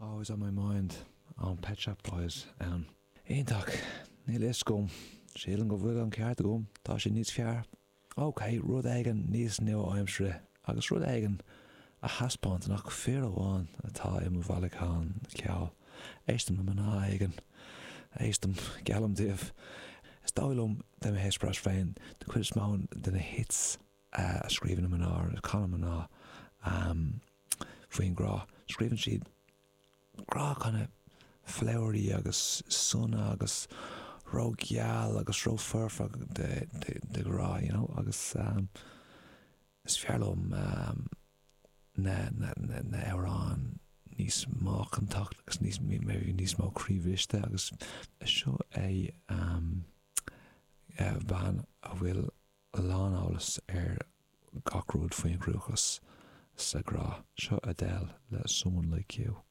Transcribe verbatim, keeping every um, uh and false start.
Always on my mind ón Pet Shop Boys ann. Iontach, níl a fhios agam, sílim go bhfuil an ceart agam, tá sé níos fearr. Ok, rud éigin níos nua-aimseartha agus rud éigin a thaispeánann nach fir amháin atá i mo bhailiúchán ceoil. Éistim le mná éigin, éistim, geallaim daoibh. Is dóigh liom de mo eispéireas féin, de chuid is mó de na hits a scríobhann na mná, a chanann mná faoin grá. Scríobhann siad grá kind of flowery agus sona agus ró-gheal agus ró-foirfe de, de, de ghrá, you know, agus um, is fearr liom um, na, na, na, na hamhráin níos macánta agus níos maybe níos mó croíbhriste agus seo é um, bean a bhfuil láneolas ar gach rud faoin gcruachás sa ghrá. Seo Adele le Someone Like You.